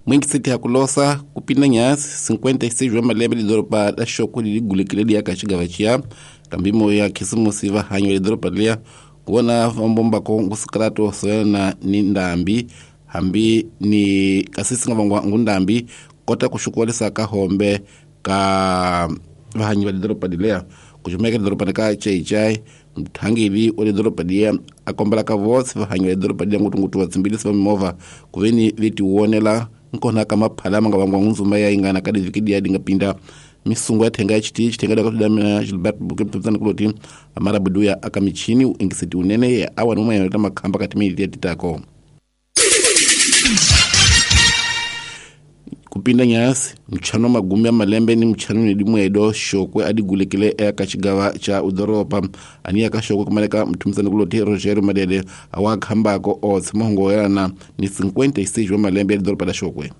Mwingiseti ya kulosa kupinda nyasi 56 wa malembe lidoropa la Shokwe liligulekile liyaka xigava xiya kambimo ya khisimusi va hanyo lidoropa liya kuona vambombako ngusikrato soyana ni ndambi hambi ni kasi singa vangwa ngundambi kota kuxukuwalisa ka hombe ka vahanyi va lidoropa liya kuxumeka lidoropa ka Chaichai mthangeli wa lidoropa liya a kombela ka votse vahanyi va lidoropa liya ngutungutu vatsimbilisi va mimovha kuveni vetiwonela nkona ka maphala manga vangwa ngunzuma ya ingana ka diviki dia dinga pinda misungu ya thenga ya chiti chitenga da katuda mina Gilbert Bukeptana kuloti amara buduya akamichini ingiseti unene ya awa numa ya makhamba kati mili ya titako kupinda nyasi mchano magumi ya malembe ni mchano ni dimwedo Shokwe adigulekile ya kachigawa cha udoropa ani ya kashokwe kumaleka mtumzani kuloti Roger Madede awakhambako otse mahongo yana ni 56 wa malembe ya doropa da Shokwe.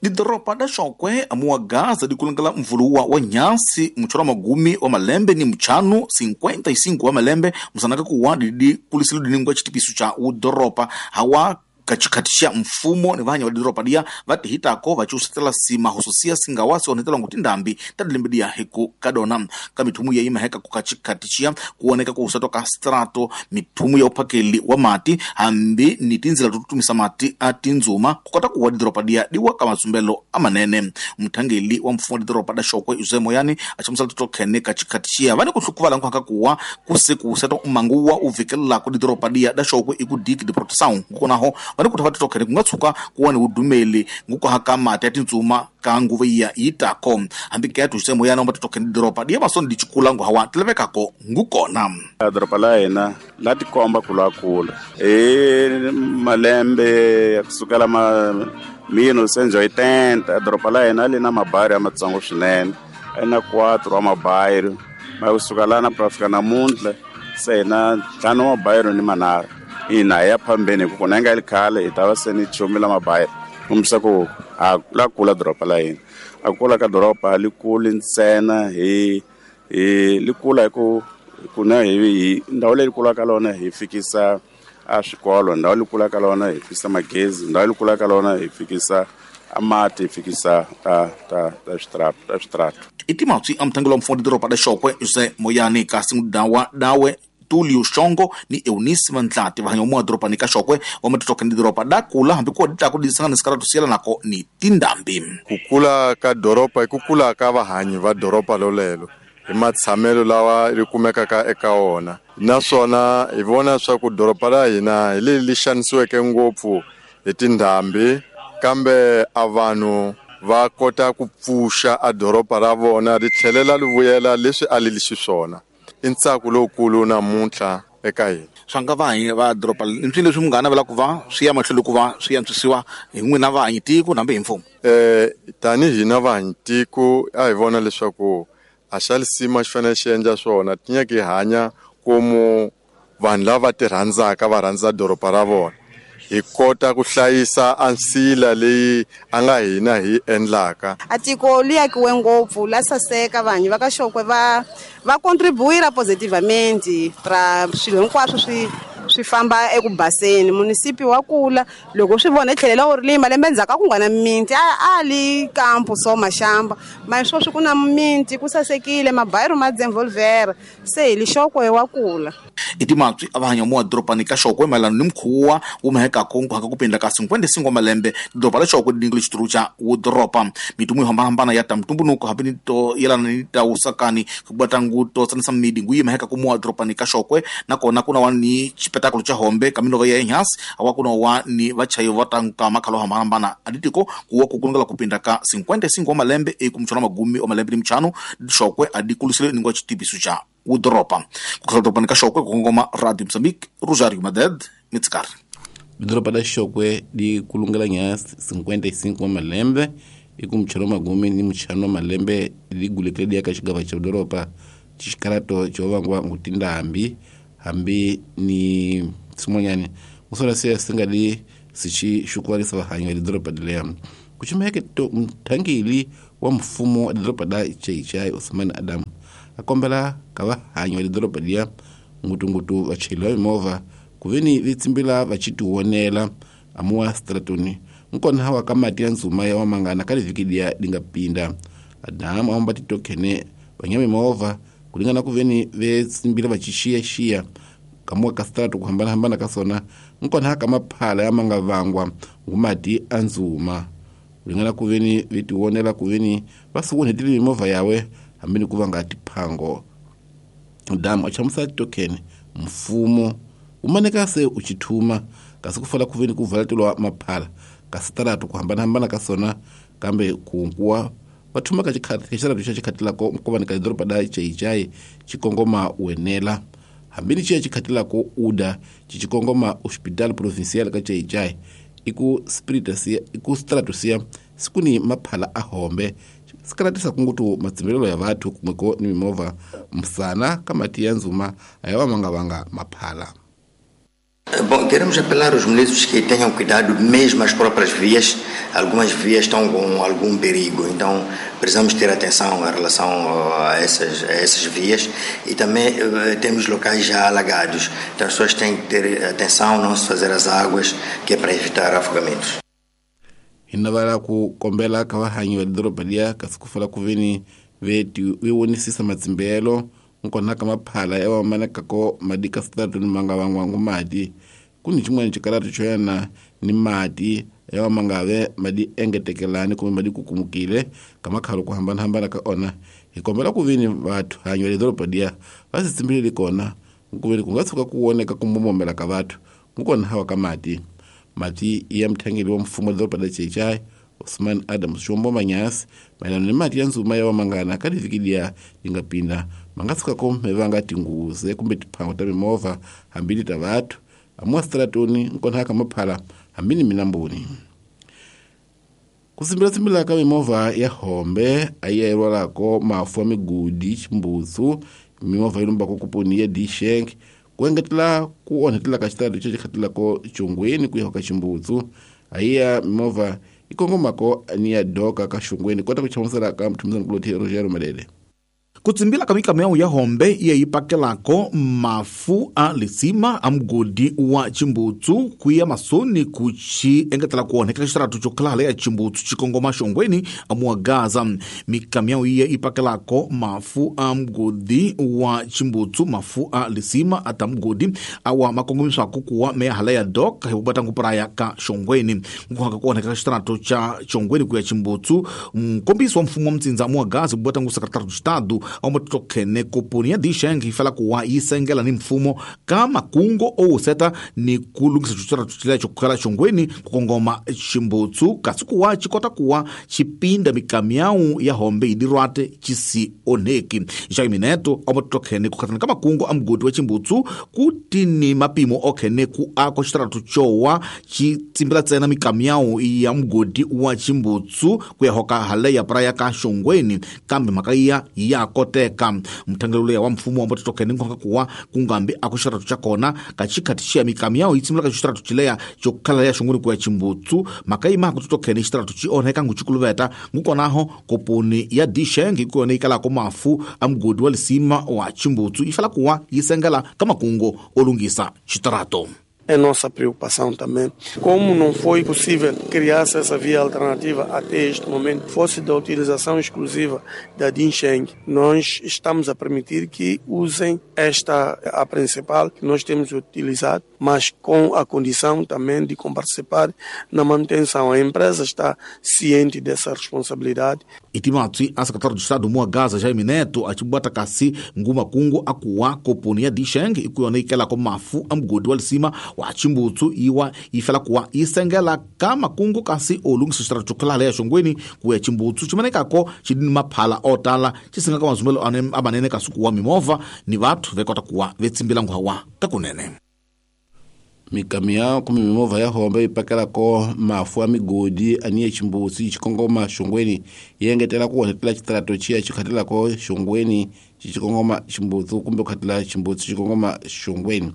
Didoropa da Shokwe amuwa gaza dikulangala mvuluwa wa nyasi mchoro magumi wa malembe ni mchano 55 wa malembe msanaka kuwa didi kulisilu diningwa chitipisu cha udoropa hawa kachikatisha mfumo ni vanya wa didoropa dia vatihitako vachiusatela sima hususia singawasi onetela nguti ndambi tadilimbidia hiku kadona ka mithumu ya imaheka kukachikatishia kuoneka kuusatwa ka strato mithumu ya uphakeli wa mati hambi ni tinzila tututumisa mati a tinzuma kukota kuwa didoropa dia diwa ka matsumbelo amanene. Mthangeli wa mfumo wa didoropa da Shokwe Jose Moyani achamusala tutokhene kachikatishia vani kuhlukuvala nkuhaka kuwa kusekuusatwa umanguwa uvikelelako didoropa dia da Shokwe ikudiki diproteção ngukonaho vani kuti vatitokhene kungatsuka kuwa ni udumeli ngukuhaka mati ya tintsuma ka nguva iya yitako hambi ke atuxe moyana omba titokhene doropa diya masoni dichikula ngu hawa tilevekako ngukona. Doropa la hina la tikomba kulakula hi malembe ya kusukela ma 1980 doropa la hina li na mabayiro ya matsongo swinene a na 4 wa mabayiro ma kusuka lana ku fika namuntlha se hina 5 wa mabayiro ni manharhu ina ya phambeni ku kona nga likhale hi ta va se ni chumila mabayiro kombisa ku a la kula doropa la hina a kula ka doropa li kuli ntsena hi li kula hi ku kuna hi ndhawu leyi kula ka lona hi fikisa a swikolo ndhawu leyi kula ka lona hi fikisa magezi ndhawu leyi kula ka lona hi fikisa amati hi fikisa ta switrato. Itimatswi a mthangelo wa mfumo wa doropa da Shokwe Jose Moyani kasi ngudawa dawe Tulio Shongo ni Eunice Mantlati vahanya umwa doropa ni kashokwe wa matitoka ni doropa da kula hambi kuwa dita kudisanga nisikara tusiela nako ni tindambi. Kukula ka doropa ikukula ka vahanyi va doropa lolelo hi matshamelo lawa ri kumekaka ka eka wona naswona hi vona swa ku doropa la hina hi leri li xanisiweke ngopfu hi tindhambi kambe a vanhu va kota ku pfuxa a doropa ra vona ri tlhelela li vuyela leswi a li li xiswona. I ntsako lowukulu namuntlha eka hina. Swa nga vahanyi va doropa mpfini leswi munghana vela ku va swi ya mahlweni ku va swi antswisiwa hi n'wina vahanyi tiko nambe hi mfumo. Tanihi hina vahanyi tiko a hi vona leswaku a xa lisima xi fanele xi endla swona tinyaki hi hanya komu vanhu lava ti rhandzaka va rhandza doropa ra vona hi kota ku hlayisa ansila leyi a nga hina hi endlaka. A tiko li akiwe ngopfu la saseka vanhu va ka Shokwe va contribuira positivamente ra swilo hinkwaswo swi famba eku baseni. Munisipi wa kula loko swi vona tlhelela u ri malembe ndzhaku ku nga na minti a li kampo so mashamba ma sweswi ku na minti ku sasekile mabayiro ma dzenvolvera se hi li Shokwe wa kula. Itimatswi a vahanya muwa doropani ka Shokwe mayelana ni mukhuwa wu mahekako nkuhaka ku pinda ka 55 malembe doropa la Shokwe dingo xituru xa wudoropa mitumu yo hambanahambana ya ta mtumbunuko hambi ni to yelana ni ta usakani ku nguto tsanisa midi nguyi maheka ku muwa doropani ka Shokwe nakona kuna wa ni xipetakulu xa hombe ka minova ya enhasi awa kuna wa ni vachayi va tanka makhalo hambanahambana aditiko kuwa kukulungela ku pinda ka 55 malembe ekumchona magumi wa malembe ni mchano Shokwe adikulisile ningwa xitipiso xa udoropa kukhela doropani ka Shokwe kukongoma Radio Mozambique Rosario Maded Mitskar. Doropa la Shokwe di kulungela nyasi 55 malembe ikumchano magumi ni mchano malembe ligulekele dia ka xigava xa doropa xikarato xo vangwa ngutindambi hambi ni swin'wanyani usona se singa li sixi xukuwarisa vahanyi va doropa leya kuchimeke to mthangeli wa mfumo wa doropa la Chaichai Osman Adam a kombela ka vahanyi va doropa liya ngutungutu vachayeri va mimovha kuveni vi tsimbila va xitiwonela amuwa stratoni Nkona hawa ka mati ya nzuma ya wamangana ka livhiki liya lingapinda. Adamu aomba titokhene vanyami movha kulingana kuveni vetsimbila vachixiyaxiya kamuwa ka sitaratu kuhambanahambana ka sona nkona haka maphala ya mangavangwa ngumati a nzuma kulingana kuveni vetiwonela kuveni vasiwonhetile mimovha yawe hambini ku vanga tiphango. Damu achamusa titokhene mfumo umaneka se uchithuma kasi kufala kuveni kuvalatelwa maphala ka sitaratu kuhambanahambana ka sona kambe kunkuwa vathuma ka xitaratu xa xikhatilako nkovani ka doroba da Xai-Xai xikongoma wenela hambini xiya xikhatilako uda xikongoma hospital provincial ka Xai-Xai iku spiritasia iku stratusia sikuni maphala a hombe sikalatisa kungutu matsimbelelo ya vathu kumweko ni mimovha msana ka mati ya nzuma ayawa mangavanga maphala. Bom, queremos apelar aos munícipes que tenham cuidado mesmo as próprias vias. Algumas vias estão com algum perigo, então precisamos ter atenção em relação a essas vias e também temos locais já alagados, então as pessoas têm que ter atenção, não se fazer as águas, que é para evitar afogamentos. Hinavala ku kombela ka vahanyi va doroba liya kasi ku fala ku veni veti wiwonisisa matsimbelo nkona ka maphala ya wamanekako madi ka sitaratu ni manga vangwangu mati kuni xin'wana xikaratu xo yana ni mati ya wamangave madi engetekelani kumbe madi kukumukile ka makhalo ku hambanahambana ka ona hi kombela ku veni vathu hanyi va le doroba liya va si tsimbileli kona nkuveni ku nga tshuka ku woneka ku mbomomela ka vathu nkona hawa ka mati. Mati ya mthangeli wa mfumo wa doroba la Xai-Xai Osman Adams Xombo Manyasi mayelana ni mati ya nzuma ya wamangana ka livhiki liya lingapinda mangatshukako mevanga tinguze kumbe tiphango ta mimovha hambini ta vathu amuwa sitaratoni nkona ka maphala hambini minambuni. Kusimbilatsimbila ka mimovha ya hombe ayiya mafu ya migudi ximbutsu mimovha yi lumbako kuponi ya Dixenk ku engetela ku onhetela ka xitaratu xa xikhatilako xongweni ku ya ka ximbutsu ayiya mimovha ikongomako ni ya doka ka xongweni kota ku chamusela ka mthumisani kuloti Rogério Malele. Ku tsimbila ka mikamyao ya hombe iya yi pakelako mafu a lisima a mugodi wa Chimbutsu kuya masoni ku xi engetela ku onheka xitaratu xo khala ya Chimbutsu xikongoma xongweni a muwa Gaza. Mikamyao iya yi pakelako mafu a mugodi wa Chimbutsu mafu a lisima a ta mugodi awa makongomiswako kuwa meya hala ya dok hi kubatangu praya ka xongweni nkuhaka ku onheka xitaratu xa xongweni kuya Chimbutsu nkombiso wa mfumo wa mtsindza muwa Gaza kubatangu secretário do Estado aumatokhene koponi ya Dixeng yi fala kuwa yi sengela ni mfumo ka makungo owuseta ni ku lunghisa xitaratu xo khala xongweni ku kongoma Chimbutsu kasi kuwa xi kota kuwa xi pinda mikamyau ya hombe yi dirwate xi si onheki. Jaime Neto aumatokhene ku khatana ka makungo a mugodi wa Chimbutsu ku ti ni mapimo okhene ku ako xitaratu xowa xi tsimbila ntsena mikamyau ya mugodi wa Chimbutsu ku ya hoka hale ya praya ka xongweni kambe mhaka ya ya koteka. Mthangelo ya wa mfumo wa mbotokhene nkonga kuwa kungambi aku xitaratu xa kona ka xikhati xiya mikamyao yi tsimula ka xitaratu xileya xo khala ya xongweni ku ya Chimbutsu mhaka yi maku tokhene xitaratu xi onheka ngu xikuluveta ngukonaho koponi ya Dixeng hi ku yona yi kalako mafu a mugodi wa lisima wa Chimbutsu yi fala kuwa yi sengela ka makungo o lunghisa xitaratu. É nossa preocupação também. Como não foi possível criar-se essa via alternativa até este momento, fosse da utilização exclusiva da Dixeng, nós estamos a permitir que usem esta, a principal, que nós temos utilizado, mas com a condição também de participar na manutenção. A empresa está ciente dessa responsabilidade. Itimatsi, a secretário de Estado Mua Gaza, Jaime Neto, a Chibata Kasi, Nguma Kungo, Akua, Koponia Dixeng, e Kuyoneikela Komafu, Amgodi Walisima, wa Chimbutsu iwa ifela kuwa isengela ka makungu kasi olungisa xitaratu khala ya xongweni ku ya Chimbutsu ximanekako xi ni maphala otala xi singa ka mazumelo amanene kasi kuwa mimovha ni vathu vekota kuwa vetsimbila nguhawa ka kunene. Mikamyao kumbe mimovha ya hombe yi pakelako mafu ya migodi aniye Chimbutsu xikongoma xongweni yi engetela ku onhetela xitaratu xiya xi khatilako xongweni xikongoma Chimbutsu kumbe ku khatila Chimbutsu xikongoma xongweni.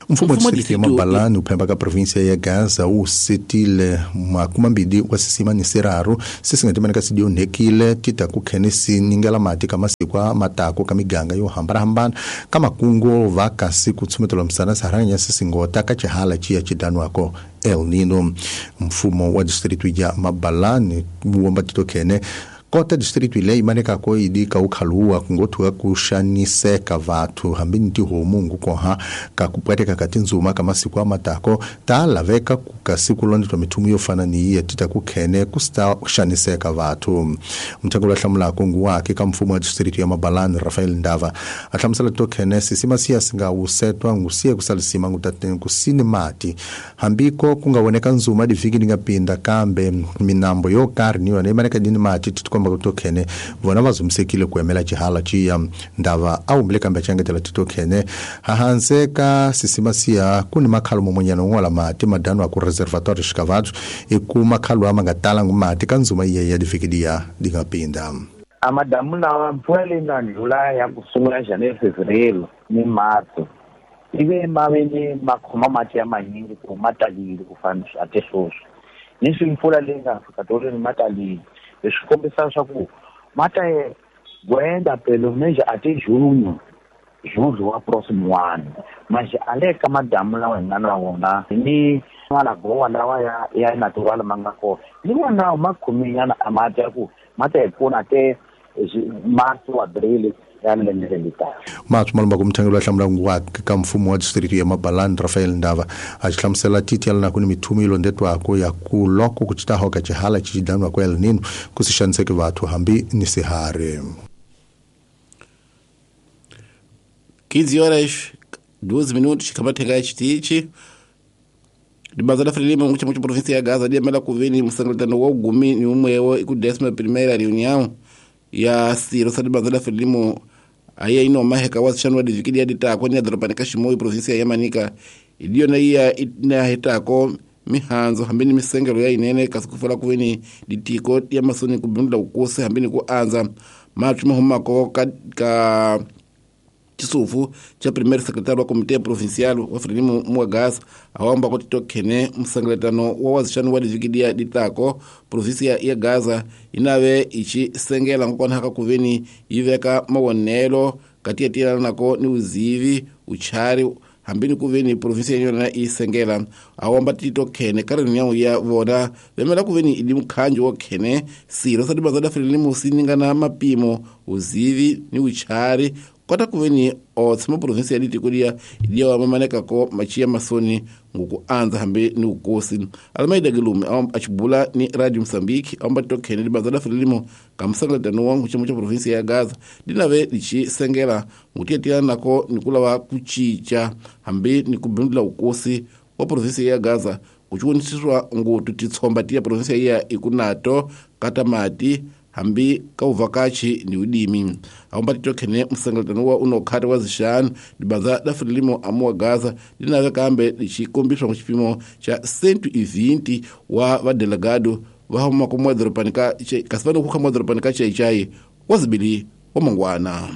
Mfumo wa distrito ya Mabalani uphemba ka província ya Gaza wu setile makumambili wa sisima ni siraru sisingatimani sidio nhekile tita ku khene siningela mati ka masiku a matako ka miganga yo hambanahambana ka makungo va kasi ku tshumetela misana sarhanya sisingota ka xihala xiya xidanwako El Nino. Mfumo wa distrito ya Mabalani womba titokhene kota distrito ile imanekako idika ukhaluwa kungothuka kuxaniseka vathu hambi ni tihomu ngukoha kakupwateka ka tindzuma ka masiku amatako ta laveka ka siku londetwa mithumu yo fana ni yiya tita kukhene ku sta xaniseka vathu. Muthangi hlamulako nguwake ka mfumo wa distrito ya Mabalani Rafael Ndava a hlamusela tokhene sisima siya singa wusetwa ngusiye kusalisima ngutateni kusini mati hambiko kungawoneka ndzuma divhiki ndingapinda kambe minambo yo karhi ni yona imaneka dini mati komba kutokhene vona vazumisekile ku emela xihala xiya. Ndava a humbile kambe a titokhene hahanse ka sisima siya ku ni makhalo momonyana un'wala mati madano aku reservatoire xikavathu i ku makhalo ama nga talangi mati ka ndzuma iye ya divhiki diya di nga pinda. A madamu lawa mpfula leyi nga ndlula ya ku sungula January, Fevereiro ni Marso ive ma ve ni ma khoma mati ya manyingi ku ma talile ku fana a te sweswi ni swi mpfula leyi nga fika tolweni ma talile. Leswi kombisa leswaku mata gwenda pelo menos até junho, julho wa próximo ano. Mas ale ka madamu lawa hi nga na wona ni malagowa lawa ya natural ma nga kona ni wona ma khominyana a mati ya ku mata hi pfuna até março, abril ya lembe leri taka. Mathu malumba ku muthangi loyi a hlamulaka wa ka mfumo wa distrito ya Mabalani Rafael Ndava a xi hlamusela titiyela ku ni mithumu yi londetwako ya ku loko ku citaho ka xihala xi daniwako El Nino ku si xaniseki vathu hambi ni sihari. 15 horas 12 minutos kamatheka xitichi Libanza la Frelimo mu cha província ya Gaza liemela kuveni msangalatano wa ugumi ni umwewo iku 11ª reunião ya siro sa libanza la Frelimo aya ino maheka wa shanwa divikili ya ditako ni doroba ka Shimoyo província ya Manica iliyo na iya ina hitako mihanzo hambeni misengelo ya inene kasikufela kuveni ditiko ya masoni kubindula ukose hambeni kuanza mathu mahumako ka Chisufu cha primeiro secretário wa Comitê Provincial wa Frelimo Muagas awamba kuti tokhene msangalatano wa wazixani wa divikidia ditako província ya Gaza inave ichi sengela nkokonhaka kuveni yiveka mawonelo katiyatilana nako ni uzivi uchari hambini kuveni província yona isengela awamba tito khene kareni ya vona vemela kuveni ili mkhanjo wa khene siro sa dibanza da Frelimo siningana mapimo uzivi ni uchari kota kuveni otsima província ya ditikulia idiya wamamaneka ko machia masoni nguku anza hambe ni ukosi. Almeida Gilume achibula ni Radio Mozambique amba tokhene libanza la Frelimo kamsangalatano wangu chimo cha província ya Gaza dinave lichi sengela ngutiyatilana nako nikulawa kuchicha hambe ni kubindula ukosi wa província ya Gaza kuchiwonisiswa ngutu titsomba tiya província ya ikunato katamati hambi kauvakachi ni udimi awamba titokhene msangalatano wa unokhata wa zixanu libanza la Frelimo amuwa Gaza linave kambe lichikombiswa muchipimo cha 120 wa vadelegado vahuma kumwa ka kasivano kukha mwadhoropani ka chaichai wazibili wa mangwana.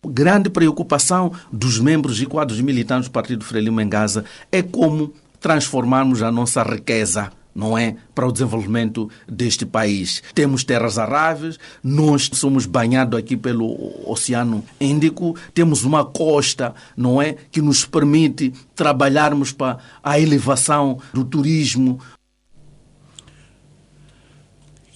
Grande preocupação dos membros e quadros militantes do Partido Frelimo em Gaza é como transformarmos a nossa riqueza, não é? Para o desenvolvimento deste país. Temos terras aráveis, nós somos banhados aqui pelo Oceano Índico, temos uma costa, não é? Que nos permite trabalharmos para a elevação do turismo.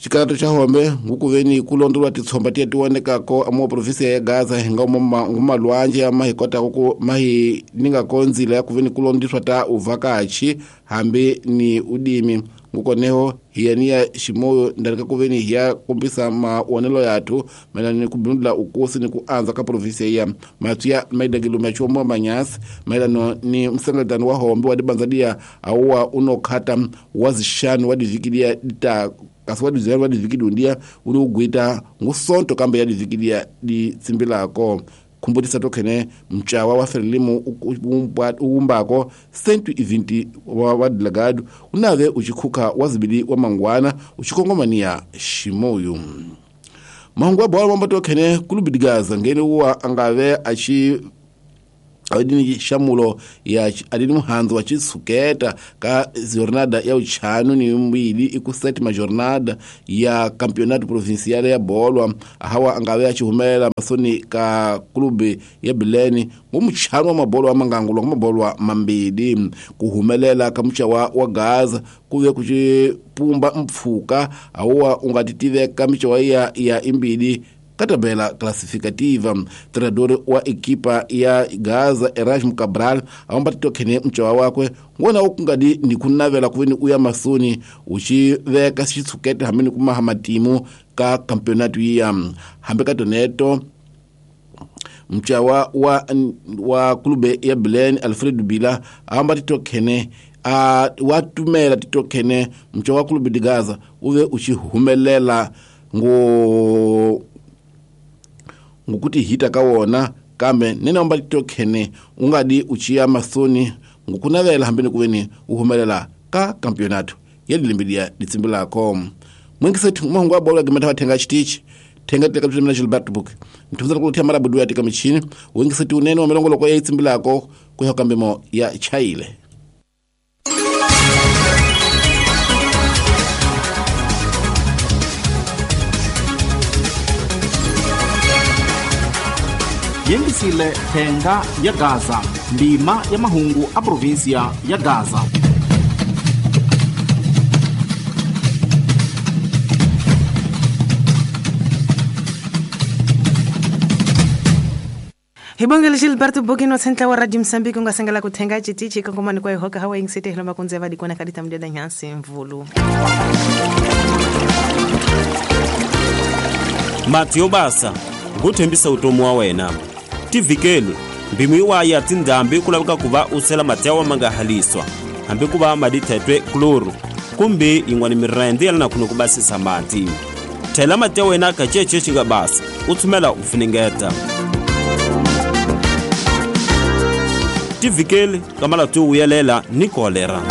Xikalato xa hombe ngukuveni kulondolwa titshomba tiya tiwonekako amuwa província ya Gaza hinga ngumalwanje ama hi kotako ku mahi ningako nzila ya kuveni kulondiswa ta uvakachi hambi ni udimi ngukoneho hiyaniya Shimoyo ndalika kuveni hiya kombisa maonelo yathu maelana ni kubindula ukosi ni kuanza ka província ya mathu ya Almeida Gilume achiombowa manyasi maelano ni msangalatano wa hombe wa dibanza auwa unokhata wa zixanu wa divikilia dita kasi wa dizela wa divikidi undia uli ugwita ngusonto kambe ya divikidia ditsimbilako khumbutisa tokhene mchawa wa Frelimo uwumbako 120 wa delegado unave uchikhukha wazibili wa mangwana uchikongomaniya Shimoyo. Mahungu wa bola mambo tokhene kulubidigaza ngene uwa angave achi Adini xamulo ya adini muhandzu wa xitshuketa ka jornada ya uchanu ni mbili iku sétima jornada ya campeonato provincial ya bolwa hawa angave achihumelela masoni ka clube ya Bilene ngomuchanu wa mabolwa mangangulwa mabolwa mambili kuhumelela ka muchawa wa Gaza kuve kuchipumba mpfuka awa ungatitiveka michawa ya imbili ka tabela classificativa. Treinador wa ekipa ya Gaza Erasmo Cabral aomba titokhene mchawa wakwe ngona ukungadi ndikunavela kuveni uya masoni uchiveka xitshukete hambi kumaha matimu ka campeonato ya hambi ka toneto mchawa wa clube ya Bilene Alfredo Bila aomba titokhene watumela titokhene mchawa wa clube de Gaza uve uchihumelela ngo ngokuti hita kawona kambe nene omba titokhene ungadi uchiya masoni ngokunavela hambeni kuveni uhumelela ka campeonato yelilimbilia litsimbi lako mwingisethi mahungu wa bola gemeta wathenga chitichi thenga teka mthu Gilbert Book mthunza kulothya marabudu ya tika michini wingisethi unene wa milongoloko ya itsimbi lako kuya kambemo ya chaile. Yengisile thenga ya Gaza, ndima ya mahungu a província ya Gaza. Hibongele Gilberto Bogino sentla wa Radio Mozambique ungasengela kuthenga chitichi kongomani kwa ihoka hawa ingisete hilomba kunzeva dikona kadita mdeda nyansi mvulu. Mathieu Basa nguthembisa utomi wa wena tivikeli mbimu iwayi ya tindhambi ku laveka ku va u sela mati ya wa ma nga haliswa hambi ku va madithetwe kloro kumbe yin'wana mirende ya lana ku basisa mati thela mati ya wena ka cece xi nga basa u tshumela u funengeta tivikeli ka malatu yo vuyelela ni kolera.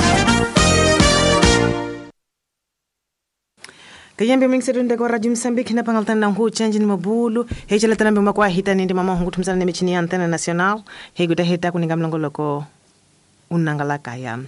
Kayembe mingsetu kwa Radio Mozambique na pangaltana na ngu change ni mabulu hechela tanambe makwa hita nindi mama hungu tumsana ne michini ya Antena Nacional higuta hita kuninga mlongoloko unangala kaya.